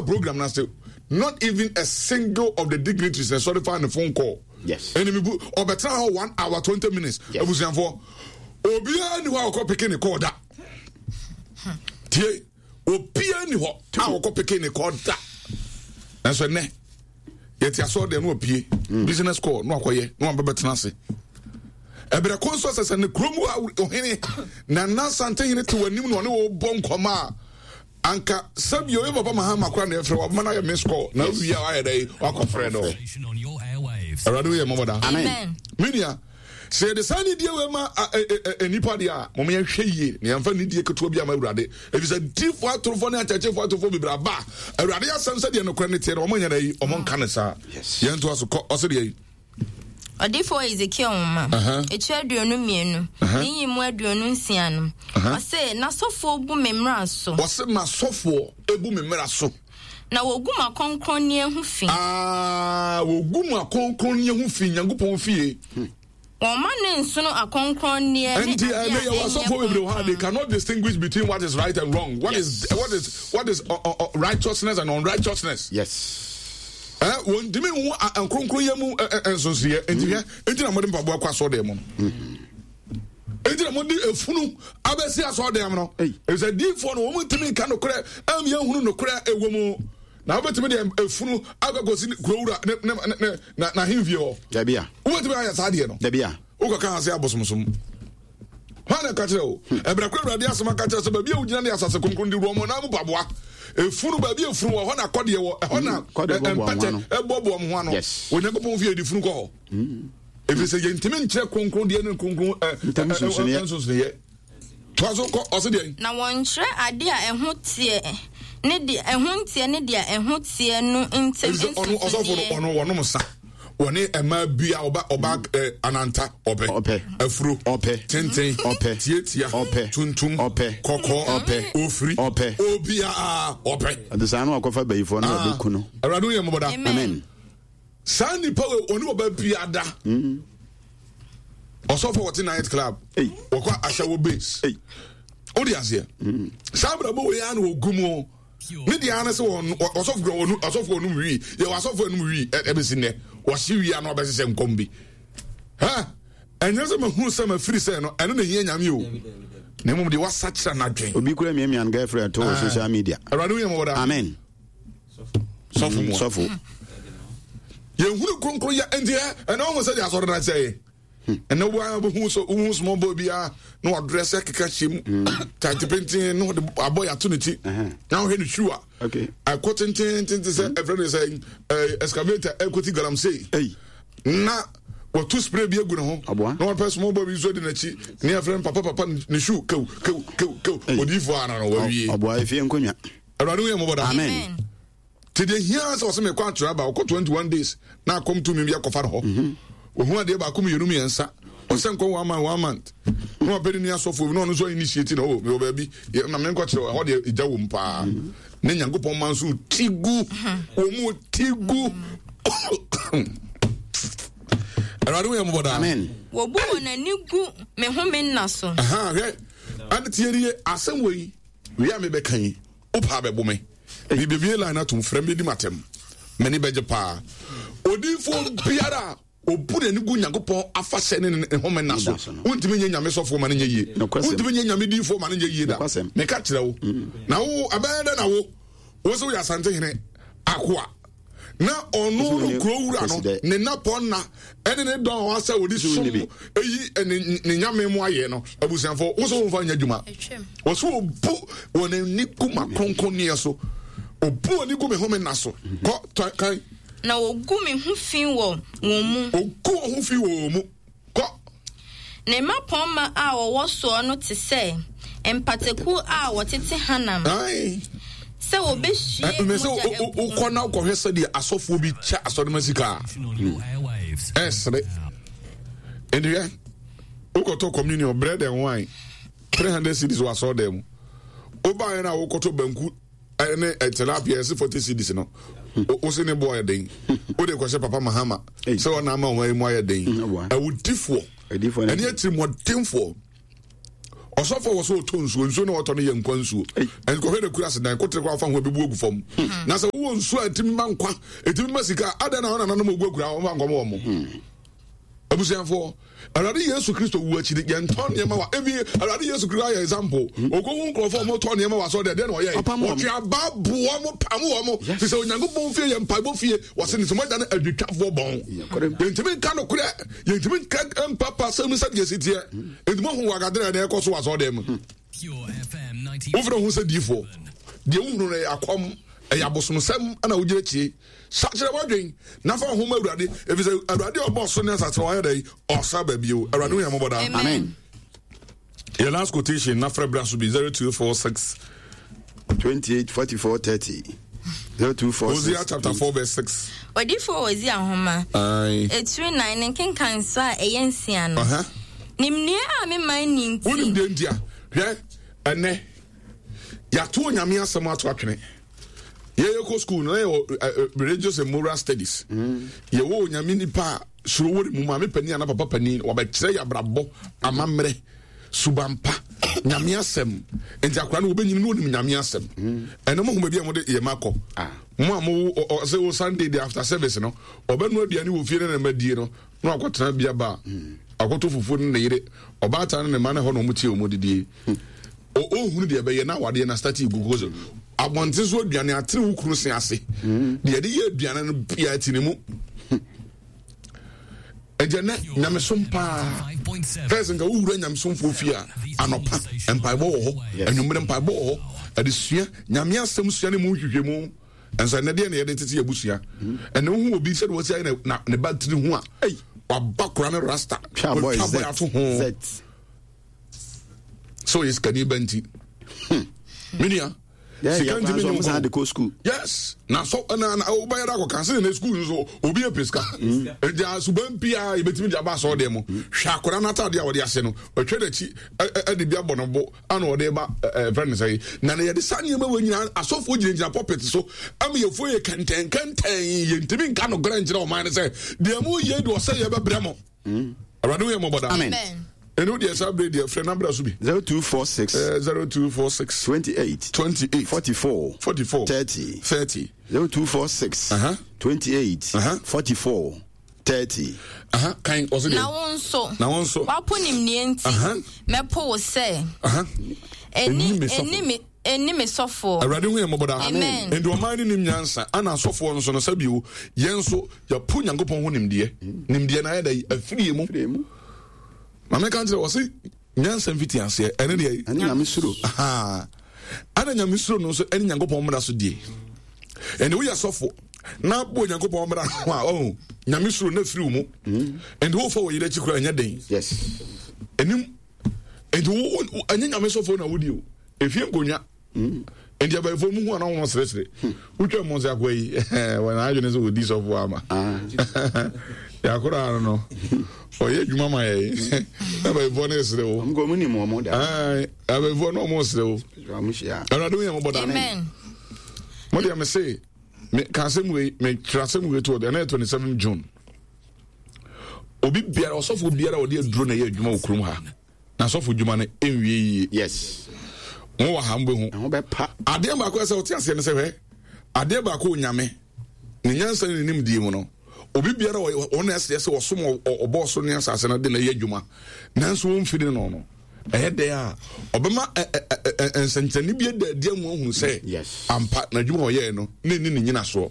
Program no ase not even a single of the dignitaries na ɛsɔre fa ne phone call. Yes. Ɛna mi bu ɔbɛtena hɔ 1 hour 20 minutes. Yes. Abusuafoɔ, obiara ni hɔ a ɔkɔ pick ne call da. Tie, obiara ni hɔ a ɔkɔ pick ne call da. Nanso ɛnɛ yɛte asɔre deɛ no wapue business call no akɔyɛ na wabɛbɛtena bɛtena ase. Ɛbrɛ kɔn so sɛ ne kurom a ɔhene Nana Santehene te w'anim na ɔne wo bɔ nkɔmɔ a, anka sɛbi oye Papa Mahama kora na ɛfrɛ waboma no ayɛ miss call na wowie a wayɛ dɛ wakɔfrɛ no. Awurade woyɛ mmɔbɔ da. Amen. Menua, sɛ yɛde saa nidie wei ma nnipa deɛ a, mom yɛnhwɛ yie na yɛmfa nidie ketewa bi ama Awurade, ɛfiri sɛ difoɔ atorofoɔ ne akyɛkyɛfoɔ atorofoɔ bebree aba a Awurade asɛm sɛdeɛ nokorɛ no teɛ no ɔmo nyɛ dɛ yi ɔmo nka no saa. Yɛntoa so kɔ, ɔse deɛ yi. Ɔdifoɔ Ezekiel nwoma, etire 22, ne yi mu 26 no, ɔse, N'asɔfoɔ bu me mmara so. Ɔse, m'asɔfoɔ ebu me mmara so. Na wɔgu m'akronkronneɛ ho fi. Aa, wɔgu m'akronkronneɛ ho fi, Nyankopɔn fie. Wɔn ma ne nsono akronkronneɛ ne Nti adeɛ ɛnɛ a yɛwɔ ɛnyɛ asɔfoɔ bebree wɔ ha, they kronkron. cannot distinguish between what is right and wrong, what is what is righteousness and unrighteousness. Wɔntumi nhu nkronkron mu nsonsoyɛ. Nti hwɛ, nti na mode mpaboa kɔ asɔɔdan mu no, nti na mode efunu abɛsi asɔɔdan mu no. Ei. Efisɛ diifoɔ no wɔn ntumi nka nokorɛ ɛm yɛn hunu nokorɛ ɛwɔ mu, na wobɛtumi de efunu akɔkɔsi kurowura ne ne ne na n'ahemfie hɔ? Dabi a. Wobɛtumi ayɛ saa deɛ no? Dabi a. Wokɔka ase abosomsom hwan na ɛka kyerɛ wo? Ɛbrɛ koro Awurade asɛm aka kyerɛ sɛ baabi a wogyina ne asase kronkron de wurɔ mɔ na mu paboa efunu, baabi efunu wɔ hɔ na kɔdeɛ wɔ ɛhɔ na Kɔdeɛ bɔboa ho mpɛtɛ ano. ɛbɔboa mo ho ano. Onyankopɔn fie de funu kɔ hɔ ɛfiri sɛ yɛntumi nkyerɛ kronkron deɛ ne kronkron Ntam nsonsonoeɛ. Nsonsonoeɛ. Toa so kɔ, ɔse deɛ? Na wɔnkyerɛ adeɛ a ɛho teɛ ne deɛ ɛho nteɛ ne deɛ ɛho teɛ no ntam ɛfiri sɛ ɔno ɔsɔfo no nsonsonoeɛ. Ɔno wɔnom sa, wɔne ɛmaa bi a ɔba ɔba ananta ɔpɛ. Ɔpɛ. Afuro. Ɔpɛ. Tenten. Ɔpɛ. Tietia. Ɔpɛ. Tuntum. Ɔpɛ. Kɔkɔɔ. Ɔpɛ. Ofiri. Ɔpɛ. Obiaa ɔpɛ. Ɔde saa no akɔfa bayifoɔ no ɔbɛku no. Awurade woyɛ mmɔbɔ da. Amen. Amen. Saa nipa wei ɔne ɔba bia da. Ɔsɔfo wɔte night club. Ei. Wɔkɔ ahyɛwo base. Ei. Wode aseɛ saa abrabɔ wei a na wɔgu mu ne deɛ ara ne sɛ wɔn ɔsɔfo kura wɔn ɔsɔfo wɔn wii, yɛ wɔ asɔfo wɔn wii ɛbɛsi nnɛ wɔsi wii ano ɔbɛsesɛ nkɔm bi ha. Ɛnyɛ sɛ mahunu sɛ mafiri sɛ no ɛno na ehia Nyame o, na mmom deɛ wasakyera n'adwen. Obi kura miamia no girlfriend to wɔ social media. Awurade woyɛ mmɔbɔ daa. Amen. Sɔfo mu a Sɔfo. Yɛhunu kronkron yɛ nti ɛ ɛna wɔn sɛ deɛ asɔre na sɛ yɛ ɛnɛ wo a wohu so wohu small boy bi a na wadrɛ sɛ keka hyɛ mu tight penten na ɔde abɔ yɛ ato ne ti na ɔhwɛ ne shoe a ɛkɔ tententen sɛ ɛfrɛ ne sɛ excavator ɛkɔti galamsey Ei. na wɔto spray bi agu ne ho Aboa. na wɔpɛ small boy bi nso di n'akyi ne yɛfrɛ no papa papa, ne shoe kew kew kew kew. Ei. Odiyifoɔ ana no wawie. Ɔboa efie nkonnwa. Awurade woyɛ mmɔbɔ daa. Amen. Nti deɛ hia sɛ ɔsɛ mekɔ atwerɛ aba, ɔkɔ 21 days na akɔm tumi bi akɔfa no hɔ, ɔhu adeɛ baako mmienu mmiɛnsa, ɔsɛ nkɔ one month, one month na wapɛ ne nua sɔfoɔ bi na ɔno nso initiate na ɔ mewɔ baabi na menkɔkyerɛ ɛhɔ deɛ ɛgya wɔ mu paa ne Nyankopɔn ma nso ti gu wɔ mu ti gu. Awurade woyɛ mmɔbɔ daa. Amen. Wɔbu wɔn ani gu me home nna so. Aha, hwɛ ade tie nie, asɛm wɔ yi wei a mebɛka yi, wopaa bɛbo me, mebɛbie line atom, frɛ me bɛdi matam, m'ani bɛgye paa. Odiyifoɔ biara a ɔbu n'ani gu Nyankopɔn afahyɛ ne ne home nna so, wontumi nyɛ Nyame sɔfoɔ ma no nyɛ yie, wontumi nyɛ Nyame diyifoɔ ma no nyɛ yie da. Meka kyerɛ wo na wo ɛbɛyɛ dɛ na wo wo sɛ woyɛ Asantehene akoa na ɔno no kuro wura no ne napɔ nna ɛne ne dɔn a wasɛ wɔde som eyi ne ne nyame mu ayɛ no, abusuafo wo sɛ wɔmfa nyɛ adwuma. Wɔsɛ wɔbu wɔn ani gu ma kronkronneɛ so, obu wɔn ani gu me home nna so. Kɔ tɔ kan. Na wɔgu me ho fi wɔ wɔn mu. Ogu wɔn ho fi wɔ wɔn mu. Kɔ. Ne mmapɔmma a wɔwɔ soɔ no te sɛ mpataku a wɔtete hanam. Ae. Sɛ wɔbɛhwie mɛ sɛ mogya agu. Wokɔ na wokɔhwɛ sɛdeɛ asɔfoɔ bi kyɛ asɔrema sika a, ɛsere. Nti hwɛ, wokɔtɔ communion bread and wine 300 cedis wɔ asɔre dan mu, wobaeɛ no a wokɔtɔ banku ne tilapia ɛse 40 cedis no, wo se ne boɔ yɛ den, wode kɔhyɛ Papa Mahama sɛ ɔna ama ɔma mu ayɛ den. Awudifoɔ ɛne atirimuɔdenfoɔ. Ɔsɔfo wɔ so ɔtɔ nsuo, nsuo na ɔtɔ no yɛ nkwa nsuo. Nkɔhwɛ na kura sedan, kotere kɔ afa ho abebu agu fam. Hmm. Na sɛ wowɔ nsuo a ɛtumi ma nkwa, ɛtumi ma sika, adɛn na wɔn nananom ogu akura wɔn fa nkɔmɔ wɔn. Hmm. Abusuafoɔ, Awurade Yesu Kristo wu akyi no, yɛntɔn nneɛma wa. Ebi Awurade Yesu Kristo ayɛ example. Hmm. Okohu nkurɔfoɔ a wɔtɔn nneɛma wɔ asɔre deɛ na ɔyɛ. Wɔtwe aba boɔ mo pam wɔn mo. Fi sɛ Onyankopɔn fie yɛ mpaebɔ fie. Wɔsi ne sɛ wɔn da no adwitwafoɔ bɔn. Yɛntumi nka nokorɛ. Yɛntumi nka mpapa sɛm sɛdeɛ ɛsi teɛ. Enti moahu wɔ agadere na ɛkɔ so wɔ asɔredan mu. Wofrɛ ho sɛ diifoɔ. Deɛ wohunu no ɛyɛ akɔm, ɛyɛ abosomsɛm na wogyina akyire. Sakyerɛ w'adwen na fa wo ho ma Awurade, ɛfiri sɛ Awurade a ɔbɔɔ soro ne asase no ɔyɛ dɛn? Ɔsa ba bio. Awurade hu yɛn mmɔbɔ daa. Amen. Yɛ last quotation na frɛ bra so bi 0246 28 44 30 0246 Hosea chapter 4 verse 6. Odifo Hosea nhoma. Etiri nan ne nkenkanso a ɛyɛ nsia no. Nimdeɛ a me man nni nti. Wonim deɛ nti a hwɛ ɛnɛ yɛato Onyame asɛm ato atwene. Yɛyɛ kɔ school no na yɛwɔ religious and moral studies. Mm. Yɛwɔ Onyame nipa a suro wɔ ne mu maame panin ana papa panin wɔbɛkyerɛ yɛ abrabɔ amammerɛ suban pa nyame asɛm nti akora no wɔbɛnyini no wɔnim nyame asɛm mm. ɛno mohu baabi a mode yɛ ma kɔ ah. mo a mo sɛ wo sunday de after service no ɔbɛno aduane wɔ fie no na madie no na wakɔtena bia ba mm. akɔtɔ fufuo no ne yere ɔbaatan no ne ma no hɔ na ɔmo tie ɔmo didie hmm. ɔhunu deɛ ɛbɛyɛ na awadeɛ na start gugu so abɔnten so aduane atene wo kunu se ase hmm. deɛ ɛde yɛ aduane no bia ti ne mu ɛgya nɛ nyamesom paa fɛs nka wowura nyamesomfoɔ fie a anɔpa mpaebɔ wɔ hɔ anwummerɛ mpaebɔ wɔ hɔ adesua nyame asɛm sua ne mu nhwehwɛmu ɛnso ɛnɛ deɛ na yɛde tete abusua ɛnɛ wohu obi sɛde wɔsi ayɛ na ne ba tiri ho a waba kora ne rasta watwa bɔ ato ho sɛ ɔyɛ sikani ba nti hmm. me nua sika ntumi nye nkɔ yes na so na na wobɛyɛ dɛ akɔka sɛ ne sukuu nso obi apɛ sika hmm. nti asuban pia yɛbɛtumi de aba asɔɔ deɛ mu hmm. hwɛ akwadaa no ataadeɛ a wɔde ahyɛ no ɔtwa n'akyi ɛde bi abɔ no bo ana ɔde ba ɛfrɛ no sɛ na na yɛde saa nneɛma wɔ nyinaa asɔfoɔ gyinagyina pulpit so ama yɛfoɔ yɛ kɛntɛn kɛntɛn yɛntumi nka nokorɛ nkyerɛ ɔman no sɛ deɛ mo yɛ de ɔsɛ yɛbɛbrɛ mo hmm. awurade woyɛ mmɔbɔ daa amen ɛno deɛ saa berɛ deɛ frɛ nabra so bi 0246 0246 28 28 44 44 30 30 0246 uh -huh. 28 uh -huh. 44 30. Aha, kan ɔsɛ deɛ. Na wo nso. Na wo nso. Wapo nimdeɛ nti. Aha. Mɛpo wo sɛ. Aha. Ɛni ɛni me ɛni me sɔfoɔ. Awurade hu yɛn mmɔbɔ daa. Amen. Nti ɔman no nim nyansa ana asɔfoɔ nso no sɛbi o yɛn nso yɛpo Nyankopɔn ho nimdeɛ. Nimdeɛ na ayɛ dɛ afiri yɛ mu. Maame ka nkyerɛ wɔ se nyansa mfiti aseɛ ɛne deɛ. Ɛne nyame suro. Ɛna nyame suro no nso ɛne Nyankopɔn mmara so die. Ɛne woyɛ sɔfo na bɔ Nyankopɔn mmara ho a ɔho nyame suro na firi wo mu. Ɛnti wofa wɔ yere akyi koraa ɛnyɛ den. Yes. Ɛnim ɛnti wo ɛnyɛ nyame sɔfo na wodi o. Efie nkonnwa. Nti abayifo mu hu ana wɔn seresere. Wotwa mu sɛ akoa yi wɔn adwene sɛ wɔdi sɔfo ama. Yakora ano no ɔyɛ adwuma ma yɛ abayifo no esere wo. Wɔn mu nim wɔn da. Abayifo no wɔn sere wo. Awurade wo yɛn mɔbɔ da. Mo deɛ me se me ka asɛm wei me kyerɛ asɛm wei to ɔde ɛna yɛ 27 June. Obi biara ɔsɔfo biara ɔde aduro na ɛyɛ adwuma wɔ kurom ha. Na sɔfo dwuma no nwie yie. Yes. Mo wɔ ha mo bɛ hu. Ɛho bɛ pa. Adeɛ baako ɛsɛ ɔte aseɛ no sɛ hwɛ adeɛ baako onyame ne nyansa ne ne nimdie mu no obi biara wɔn na ɛsɛ sɛ ɔsom ɔbɔɔ so ne asase no de na ɛyɛ adwuma nanso wɔn mfiri no no ɛyɛ dɛ a ɔbɛma nsɛnkyerɛnne bi ada adi amu ahunu sɛ ampa n'adwuma ɔyɛɛ no ne ne ne nyinasoɔ.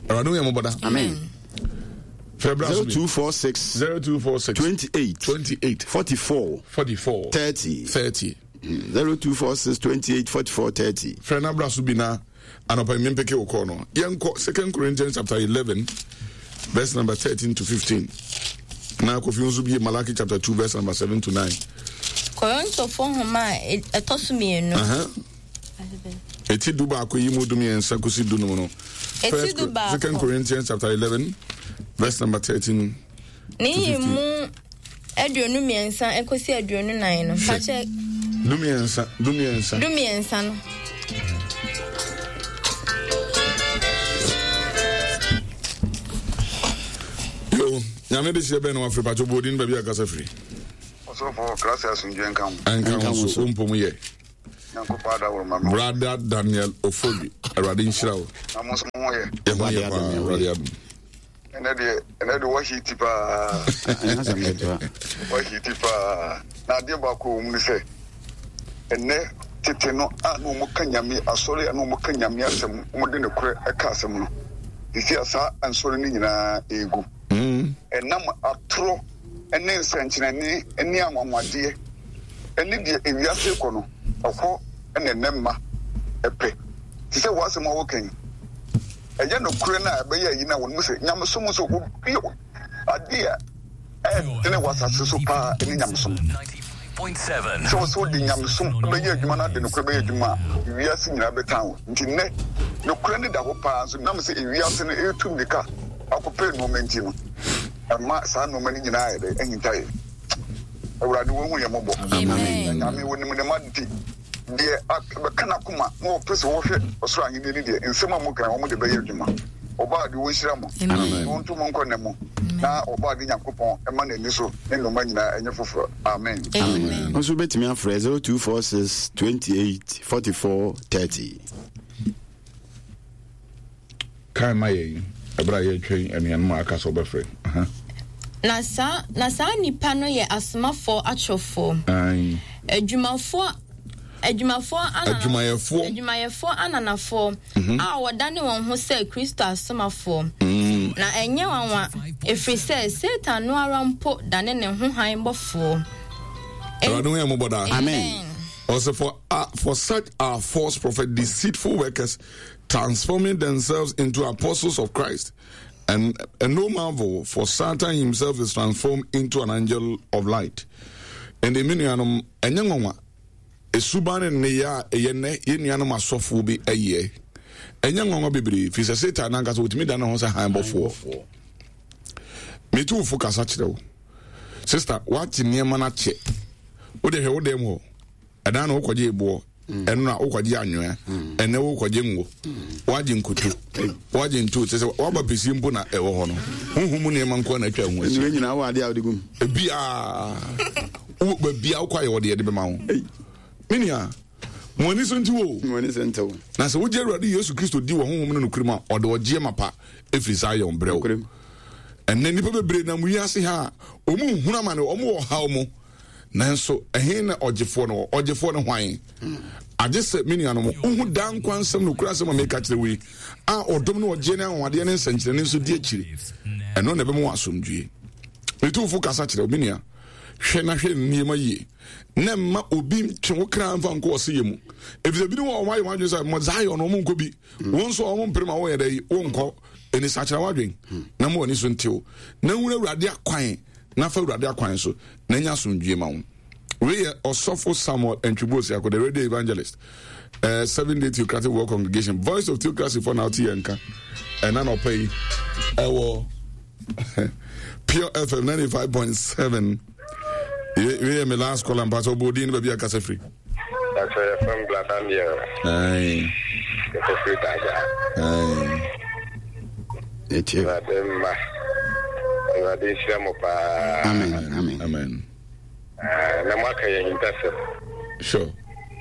Awurade wo yɛ mmɔbɔ da. Amen. Frɛ bra so bi. 0246 0246 28 28 44 44 30 30 0246 28 44 30. Frɛ na bra so bi na anɔpa yi mempeke wo kɔɔ no. Yɛnkɔ 2 Corinthians chapter 11 verse number 13 to 15. Na Kofi nso bie Malachi chapter 2 verse number 7 to 9. Korintofo nhoma a ɛtɔ so mmienu. Uh -huh. Eti du baako yi mu du mmiɛnsa kosi du num no. Eti du baako. Second Corinthians chapter 11 verse number 13. Ne yi mu 23 ekosi 24 no. Fakyɛ. Du mmiɛnsa du mmiɛnsa. Du mmiɛnsa no. Yo, nyame de hyɛ bɛn na wafiri patro bodin baabi akasa firi. Asɔfo, Krase asomdwoe nka ho. Ɛnka ho so, wo mpom yɛ. Nyankopɔn adaworo ma me. Brother Daniel Ofori, Awurade nhyira wo. Na mo nso mo ho yɛ. Yɛ ho yɛ paa, Awurade adom. Ɛnɛ deɛ, ɛnɛ deɛ wahiti paa. Wahiti paa. Na adeɛ baako wɔ mu ne sɛ, ɛnɛ tete no a na wɔn ka nyame asɔre a na wɔn ka nyame asɛm, wɔn de nokorɛ ɛka asɛm no. Sisi a saa nsɔre no nyinaa egu. Ɛnam atorɔ ne nsɛnkyerɛnne ne anwanwadeɛ ne deɛ ewiase rekɔ no, ɛhɔ na ɛnnɛ mma pɛ. Te sɛ w'asɛm a woka yi, ɛyɛ nokorɛ no a ɛbɛyɛ ayi no a wɔn mu sɛ nyamesom nso obi adeɛ a ɛdene wɔ asase so paa ne nyamesom. Sɛ wɔ sɛ wode nyamesom bɛyɛ adwuma no ade nokorɛ bɛyɛ adwuma a, wiase nyinaa bɛtan wo. Nti nnɛ, nokorɛ no da hɔ paa nso nam sɛ ewiase no ɛretu mmirika akɔpɛ nnoɔma nti no, ɛma saa nnoɔma no nyinaa yɛ dɛ ahinta yɛn. Awurade wɔhu yɛn mmɔbɔ. Amen. Nyame wɔnim ne ma nti deɛ bɛka n'akoma na wɔpɛ sɛ wɔhwɛ ɔsoro ahenni no deɛ nsɛm a moka wɔn de bɛyɛ adwuma. Ɔbaa de wɔnhyira mo na wɔnto mo nkɔ nna mu na ɔbaa de Nyankopɔn ɛma n'ani so ne nnoɔma nyinaa ɛnyɛ foforɔ. Amen. Amen. Nso bɛtumi afrɛ 0246 28 44 30. Kan ma yɛn ɛberɛ a yɛretwɛn anuanom a aka sɛ wɔbɛfrɛ. Na saa na saa nnipa no yɛ asomafoɔ atorofoɔ. Adwumafoɔ adwumafoɔ adwumayɛfoɔ adwumayɛfoɔ ananafoɔ mhm. a wɔdane wɔn ho sɛ Kristo asomafoɔ. Mm. Na ɛnyɛ nwanwa, ɛfiri sɛ Satan no ara mpo dane ne ho hann bɔfoɔ. Awurade ho yɛ mmɔbɔ daa. Amen. Also for, uh, for such are false prophets, deceitful workers, transforming themselves into apostles of Christ. And, and no marvel, for Satan himself is transformed into an angel of light. And the nuanom, ɛnyɛ nwanwa, esuban ne nneyɛ a ɛyɛ nnɛ yɛn nuanom asɔfoɔ bi ɛyɛ. Ɛnyɛ nwanwa bebree, firi sɛ Satan nankasa wɔtumi da ne ho sɛ han bɔfoɔ. Metu wo fo kasa kyerɛ wo. Sister, woate nneɛma no akyɛ. Wode hwɛ wo dɛm hɔ. Ɛdan na wokɔgye eboɔ, ɛno na wokɔgye anwea, ɛnɛ wokɔgye ngo, woagye nkutu, woagye ntu, kyerɛ sɛ woaba pɛsie mpo na ɛwɔ hɔ no. Honhom mu nneɛma nko na atwa ho ahyia. Nnua nyinaa wɔ adeɛ a wode gum. Ebiaa, wo baabi a wokɔ ayɛ wɔde yɛde bɛma wo. Me nua, mo ani so nti wo. Mo ani so nti wo. Na sɛ wogye Awurade Yesu Kristo di wɔ honhom no nokorɛ mu a, ɔde ɔgyeɛ mapa ɛfiri saa yɛn brɛ wo. Ɛnnɛ nnipa bebree nam wiase ha a wɔn nhunu amane, wɔn wɔ ɔhaw mu. Nanso ɛhe na ɔgyefoɔ no wɔ? Ɔgyefoɔ no hwan? Agye sɛ, me nuanom, wohu daa nkwa nsɛm nokorɛ asɛm a meka kyerɛ wo yi, a ɔdom ne ɔgyeɛ ne anwanwadeɛ ne nsɛnkyerɛnne nso di akyire. Ɛno na ɛbɛma wo asomdwie. Metu wo fo kasa kyerɛ wo, me nua, hwɛ na hwɛ nneɛma yie, na mma obi ntwe wo kra mfa nkɔ ɔseyɛ mu. Efisɛ binom wɔ hɔ wɔayɛ wɔn adwene sɛ, mo Zion, wɔn nkɔ bi. Wɔn nso a wɔn mpere ma wɔyɛ dɛ yi, wonkɔ. Ɛni sakyera w'adwen, na ma w'ani so ntew, na hunu Awurade akwan, na fa Awurade akwan so, na nya asomdwie ma wo. Wei yɛ Ɔsɔfo Samuel Antwibu Osiako, the radio evangelist, uh, Seven Day Theocratic World Congregation, Voice of Theocracy for now, yɛn nka. Ɛna na ɔpɛ yi, ɛwɔ Pure FM 95.7. Wei yɛ me last call ampa sɛ ɔbɔ odin no baabi akasa firi. Pastor yɛ fam bla Daniel. Aye. Yɛ firi Daga. Aye. Etie. Awurade mma. Awurade nhyira mo paa. Amen. Amen. Amen. Ah, na mo aka yɛn ahintasɛm. Sure.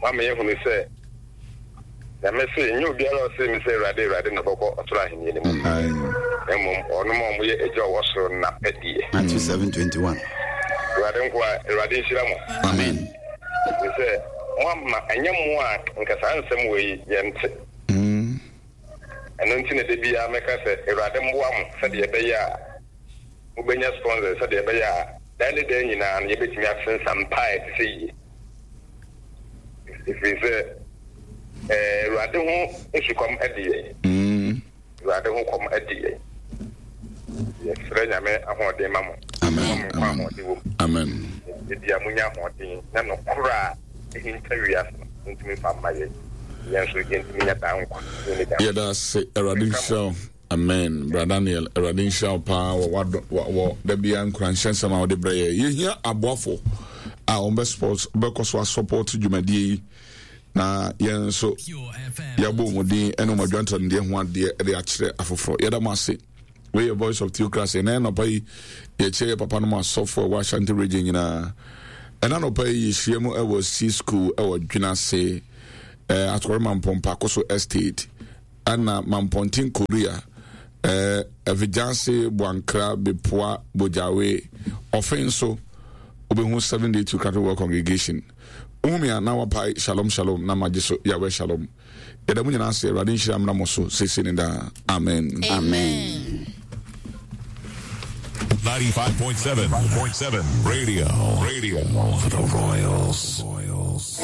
Wama yɛhunu sɛ Nyame se nyɛ obiara a ɔse me sɛ Awurade Awurade na ɔbɛkɔ ɔsoro ahenni no mu. Na mmom ɔnom a wɔyɛ Agya a ɔwɔ soro no n'apɛdeɛ. Matthew 7:21. Awurade nkoa, Awurade nhyira mo. Amen. Ɛfiri sɛ moama ɛnyɛ mo a nka saa nsɛm wei yɛnte. Ɛno nti na da biara mɛka sɛ Awurade mmoa mo sɛdeɛ ɛbɛyɛ a mobɛnya sponsors sɛdeɛ ɛbɛyɛ a daa ne daa nyinaa no yɛbɛtumi asensa mpaeɛ te sɛ yie. Ɛfiri sɛ Awurade ho sukɔm de yɛn. Awurade ho kɔm de yɛn. Yɛsrɛ Nyame ahoɔden ma mo. Amen. Mo nkwa ahoɔden wɔ mu. Amen. Ebia munya ahoɔden na nokora a ɛhinta wiase no montumi mfa mma yɛn. Yɛn nso yɛntumi nya daa nkwa. Yɛda ase Awurade nhyira wo. Amen bra Daniel Awurade nhyira wo paa wɔ wadɔ wɔ da biara nkuranhyɛ nsɛm a wode brɛ yɛ. Yɛhia aboafo a wɔn bɛ support bɛkɔ so asupɔt dwumadie yi na yɛn nso yɛabɔ wɔn din ne wɔn adwantandeɛ ho adeɛ de akyerɛ afoforɔ. Yɛda mo ase. Wei yɛ Voice of Theocracy. Ɛnɛ nɔpa yi yɛkyerɛ yɛ papa no mu asɔfo a ɛwɔ Ashanti region nyinaa. Ɛna nɔpa yi yɛhyia mu ɛwɔ C school ɛwɔ Dwenase eh, Atɔkɔre Mampɔn Pakoso Estate ɛna Mampɔnten Korea eh, Ɛvigyanse Boankra Bepoa Bogyawe Ɔfe nso wobɛhu 7 Day to Catholic World Congregation. Wohu me a na wapae shalom shalom na magye so Yahweh shalom. Yɛda mo nyinaa ase Awurade nhyira mmra mo so seesei ne daa. Amen. Amen. 95.7 Radio Radio for the Royals. Royals.